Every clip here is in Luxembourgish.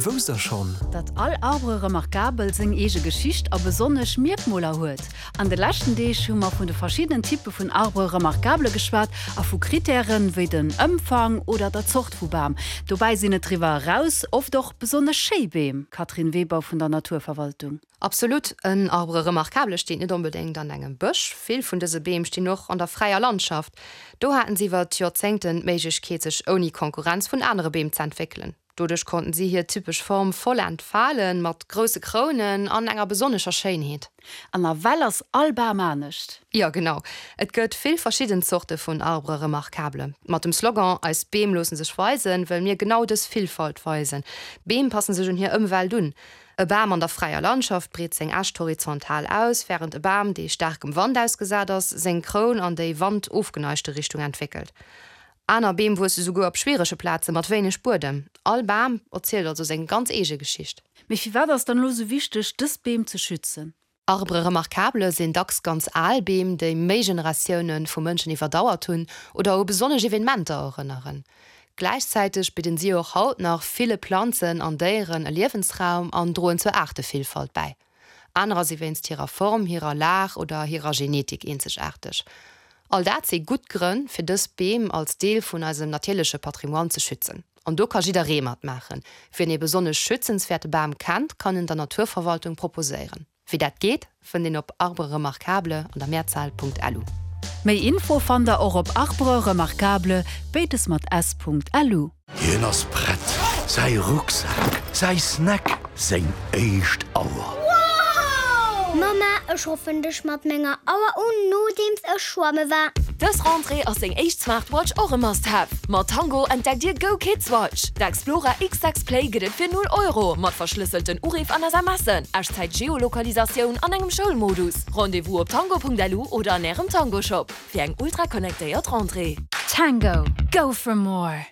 Wousst der schonn? Datt all Arbre remarquable seng eege Geschicht a besonnesch Mierkmoler huet? An de leschten Deeg hu mer vun de verschiddenen Typpe vun Arbre remarquable geschwat a vu Krittären, wéi den Ëmfang oder der Zort vu Bam. Dobäi sinn et driwwer eraus oft och besonnesch schéi Beem. Catherine Weber vun der Naturverwaltung. Absolut, en Arbre remarquable steet net onbedéngt an engem Bësch. Vill vun dëse Beem stinn och an der fräier Landschaft. Do haten si iwwer d'Joerzéngten d'Méiglechkeet, sech ouni Konkurrenz vun anere Beem z'entwéckelen. Doduerch konnten si hir typesch Form voll entfalen, mat grousse Krounen an enger besonnescher Schéinheet. An nawell ass all Bam anescht. Jo, genau. Et gëtt vill verschidden Zorte vun Arbres remarquables. Mat dem Slogan Eis Beem loosse sech weisen wëlle mir genau dës Villfalt weisen. Beem passen sech un hir Ëmwelt un. E Bam an der fräier Landschaft breet seng Äscht horizontal aus, wärend e Bam, dee staarkem Wand ausgesat ass, seng Kroun an déi wandofgeneigte Richtung entwéckelt. Aner Beem wuesse souguer op schwierege Plaze mat wéineg Buedem. All Bam erzielt also seng ganz eege Geschicht. Mee firwat ass dann elo sou wichteg, dës Beem ze schützen? Arbres remarquables sinn dacks ganz al Beem, déi méi Generatioune vu Mënschen iwwerdauert hunn oder u besonnesch Evenementer erënneren. Gläichzäiteg bidden si och haut nach ville Planzen an Déieren e Liewensraum an droen zur Aartevillfalt bäi. Anerer si wéinst hirer Form, hirer Lag oder hirer Genetik eenzegaarteg. All dat si gutt Grënn, fir dës Beem als Deel vun eisem natierleche Patrimoine ze schützen. An do ka jidderee matmaachen. Wien ee besonnesch schützenswäerte Bam kennt, kann en der Naturverwaltung proposéieren. Wéi dat geet, fënnt een op arbreremarquable an der Mehrzahl.lu. Méi Info fannt der och op arbreremarquable, béides mat s.lu. Hien ass prett, säi Rucksak, säi Snack, seng éischt Auer. Mamma, ech ruffen dech mat menger Auer un, nodeems ech schwamme war. Dës Rentrée ass seng éischt Smartwatch och e Must-Have. Mat Tango entdeckt Dir Go Kids Watch! D'Explora X6 Play gëtt et fir 0 Euro, mat verschlësselten Uriff an SMSen, Echtzäit-Geolokalisatioun an engem Schoulmodus. Rendez-vous op tango.lu oder an Ärem Tango-Shop fir eng ultra-connectéiert Rentrée. Tango, go for more!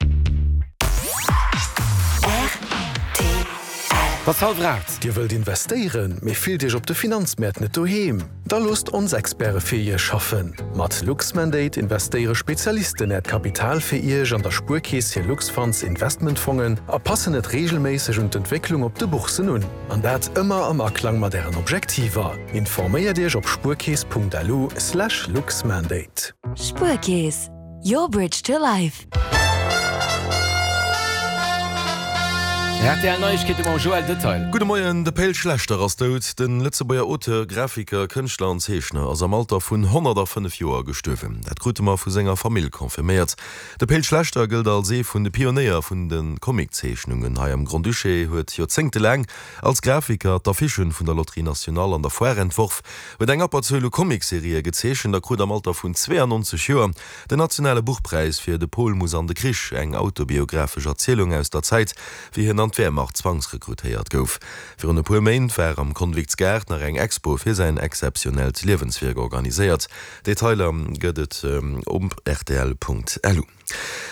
Et ass hallwer 8. Dir wëllt investéieren, mee fillt Iech op de Finanzmäert net doheem? Da loosst ons Experte fir Iech schaffen! Mat Luxmandate investéiere Spezialisten Äert Kapital fir Iech an der Spuerkeess hir Luxfunds Investmentfongen a passen et reegelméisseg un d'Entwécklung op de Bourssen un. An dat ëmmer am Aklang mat Ären Objektiver. Informéiert Iech op spuerkeess.lu/luxmandate. Spuerkeess, your bridge to life. Rtl Neiegkeete mam Joël Detail. Gudde Moien, De Pe'l Schlechter ass dout. De Lëtzebuerger Auteur, Grafiker, Kënschtler an Zeechner ass am Alter vun 105 Joer gestuerwen. Dat krute mer vu senger Famill confirméiert. De Pe'l Schlechter gëllt als ee vun de Pionéier vun de Comiczeechnungen hei am Grand-Duché, huet joerzéngtelaang als Grafiker d'Affichen vun der Loterie Nationale an der Foire entworf, huet eng Abberzuel u Comicserië gezeechent a krut am Alter vun 92 Joer Den nationale Buchpräis fir De Pol muss an de Krich, eng autobiographesch Erzielung aus der Zäit, wéi hien an d'Wehrmacht zwangsrekrutéiert gouf. Virun e puer Méint war am Konviktsgaart nach eng Expo fir säin exzeptionellt Liewenswierk organiséiert. Detailer gëtt et op rtl.lu.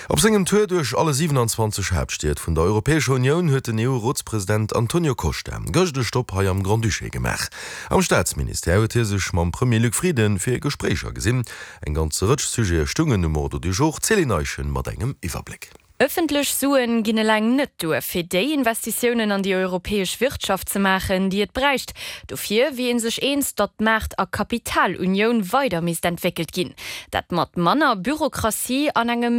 Op sengem Tour duerch alle 27 Haaptstied vun der Europäescher Unioun huet den EU-Rotspresident Antonio Costa gëscht e Stopp hei am Grand-Duché gemaach. Am Staatsministère huet hie sech mam Premier Luc Frieden fir Gespréicher gesinn. Eng ganz Rëtsch Sujete stungen um Ordre du jour. D'Céline Eischen mat engem Iwwerbléck. Ëffentlech Suen ginn eleng net duer, fir déi Investitiounen an déi europäesch Wirtschaft ze maachen, déi et bräicht. Dofir wier ee sech eens, datt d'Maart a Kapitalunioun weider misst entwéckelt ginn. Dat mat manner Bürokratie an engem méi.